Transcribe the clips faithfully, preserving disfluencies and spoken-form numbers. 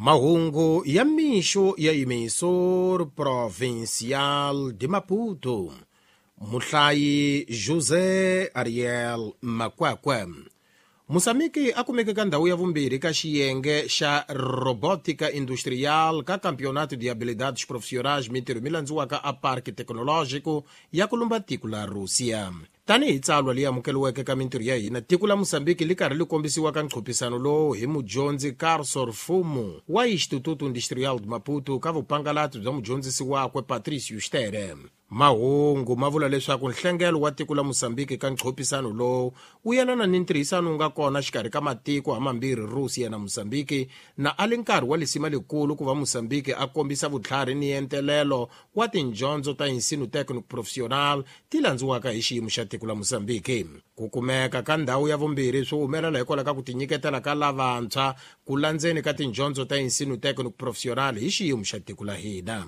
Mahungu ya mixo ya Emissor Provincial de Maputo. Muhlayi José Ariel Makwakwe. Moçambique a kumeke ka ndhawu ya vumbirhi ka xiyenge xa Robótica Industrial ka Campeonato de Habilidades Profissionais mintirho mi landziwaka a Parque Tecnológico ya ku lumba tiko la Rússia. Tanihi tsalwa leyi amukeriweke ka mintirho ya hina, tiko la Moçambique li karhi li kombisiwa ka nqophisano lowu hi mudyondzi Carson Fumo wa Instituto Industrial de Maputo ka vupangalati bya mudyondzisi wakwe Patricio Stere. Mahungu ma vula leswaku nhlengelo wa tiko la Moçambique ka nqophisano lowu wu yelana ni ntirhisano wu nga kona xikarhi ka matiko hamambirhi Rússia na Moçambique, na a li nkarhi wa lisima likulu ku va Moçambique a kombisa vutlhari ni entelelo wa tindyondzo ta ensino técnico profissional ti landziwaka hi xiyimo xa tiko la Moçambique. Ku kumeka ka ndhawu ya vumbirhi swi humelela hikwalaho ka ku tinyiketela ka lavantshwa ku landzeni ka tindyondzo ta ensino técnico profissional hi xiyimo xa tiko la hina.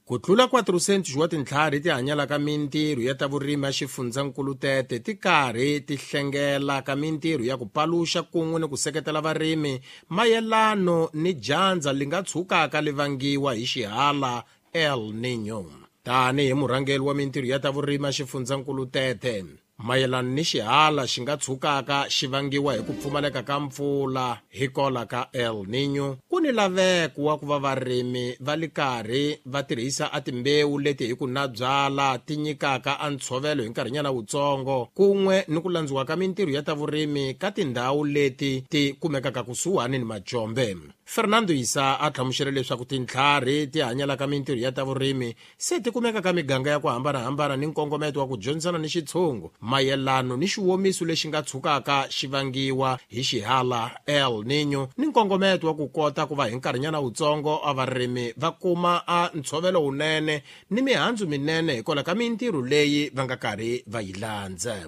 Ku tlula quatrocentos wa tintlhari ti hanyalaka mintirho ya ta vurimi ya xifundzankulu tete ti karhi ti hlengela ka mintirho ya ku paluxa kun'we ni ku seketela varimi mayelano ni dyandza li nga tshukaka li vangiwa hi xihala El Niño. Tanihi murhangeri wa mintirho ya ta vurimi ya xifundzankulu tete, mayelana ni xihala xi nga tshukaka xi vangiwa hi ku pfumaleka ka mpfula hikola ka El Niño, ku ni laveko wa ku va varimi va li karhi va tirhisa a timbewu leti hi ku na byala ti nyikaka a ntshovelo hi nkarhinyana wutsongo, kun'we ni ku landziwa ka mintirho ya ta vurimi ka tindhawu leti ti kumekaka kusuhani ni majombe. Fernando Isa a hlamusela leswaku tintlhari ti hanyalaka mintirho ya ta vurimi se ti kumeka ka miganga ya ku hambanahambana ni nkongometo wa ku dyondzisana ni xitshungu mayelano ni xiwomiso lexi nga tshukaka xi vangiwa hi xihala El Niño, ni nkongometo wa ku kota ku va hi nkarhinyana wutsongo a varimi va kuma a ntshovelo wunene ni mihandzu minene hikwalaho ka mintirho leyi va nga karhi va yi landza.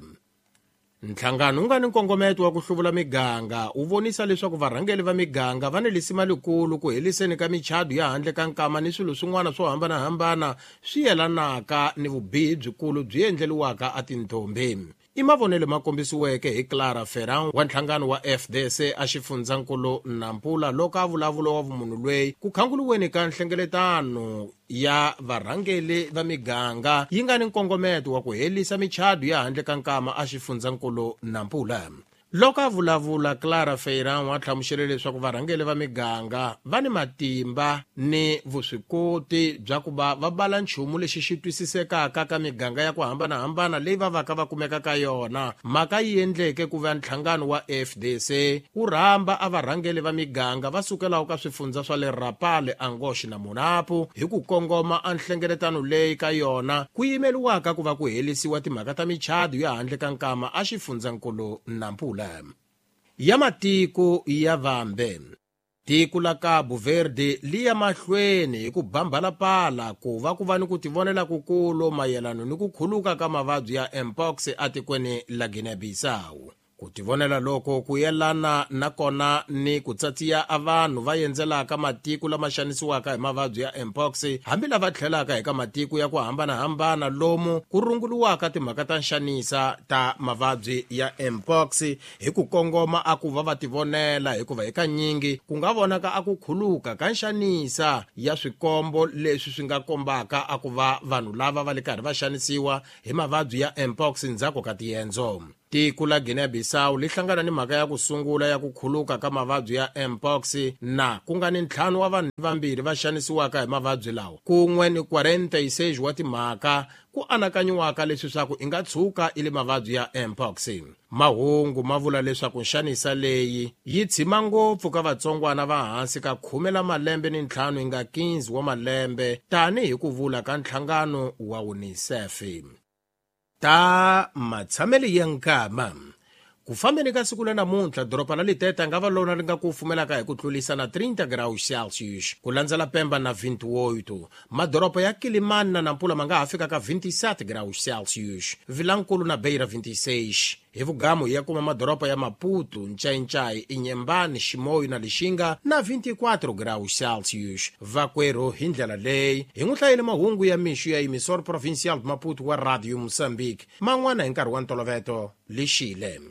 Nhlangano wu nga ni nkongometo wa ku hluvula miganga wu vonisa leswaku varhangeri va miganga va ni lisima likulu ku heliseni ka michado ya handle ka nkama ni swilo swin'wana swo hambanahambana swi yelanaka ni vubihi byikulu byi endleriwaka a tintombi. I mavonelo ma kombisiweke hi Clara Ferran wa nhlangano wa F D C a xifundzankulu Nampula loko a vulavula wa vumunhu lweyi ku khanguluweni ka nhlengeletano ya varhangeri va miganga yi nga ni nkongometo wa ku helisa michado ya handle ka nkama a xifundzankulu Nampula. Loko a vulavula, Clara Ferran wa hlamusela leswaku varhangeri va miganga va ni matimba ni vuswikoti bya ku va va bala nchumu lexi xi twisisekaka ka miganga ya ku hambanahambana leyi va vaka va kumeka ka yona. Mhaka yi endleke ku va nhlangano wa F D C wu rhamba a varhangeri va miganga va sukelaka ka swifundza swa le Rapale, Angoche na Monapo hi ku kongoma a nhlengeletano leyi ka yona ku yimeriwaka ku va ku helisiwa timhaka ta michado ya handle ka nkama a xifundzankulu Nampula. Ya matiko ya vambe. Tiko la Cabo Verde li ya mahlweni hi ku bambalapala ku va ku va ni ku tivonela kukulu mayelano ni ku khuluka ka mavabyi ya Mpox atikweni la Guinea-Bissau. Ku tivonela loko ku yelana na kona ni ku tsatsiya a vanhu va endzelaka matiko lama xanisiwaka hi mavabyi ya Mpox, hambi lava tlhelaka eka matiko ya ku hambanahambana lomu ku runguriwaka timhaka ta nxanisa ta mavabyi ya Mpox hi ku kongoma a ku va va tivonela, hikuva hikanyingi ku nga vonaka a ku khuluka ka nxanisa ya swikombo leswi swi nga kombaka a ku va vanhu lava va le karhi va xanisiwa hi mavabyi ya Mpox ndzhaku ka tiendzo. Tiko la Guinea-Bissau li hlangana ni mhaka ya ku sungula ya ku khuluka ka mavabyi ya Mpox na ku nga ni ntlhanu wa vanhu vambirhi va xanisiwaka hi mavabyi lawa, kun'we ni quarenta e seis wa timhaka ku anakanyiwaka leswi swa ku i nga tshuka i le mavabyi ya Mpox. Mahungu ma vula leswaku nxanisa leyi yi tshima ngopfu ka vatsongwana va hansi ka khume la malembe ni ntlhanu yi nga quinze wa malembe, tanihi ku vula ka nhlangano wa UNICEF. Ta matshamelo ya nkama. Ku fambeni ka siku la namuntlha, doroba la Liteta nga va lona li nga ku pfumelaka hi ku tlurisa na trinta graus Celsius, ku landzela Pemba na vinte e oito. Madoroba ya Kilimani na Nampula ma nga ha fika ka vinte e sete graus Celsius, Vilankulu na Beira vinte e seis. Hi vugamu ya kuma madoroba ya Maputo, Nchainchai, Inhambane, Chimoio na Lixinga na vinte e quatro graus Celsius. Vakwerhu hi ndlela leyi hi n'wi hlayele mahungu ya mixo ya Emissor Provincial de Maputo wa Radio Moçambique, man'wana hi nkarhi wa ntolovelo lexile.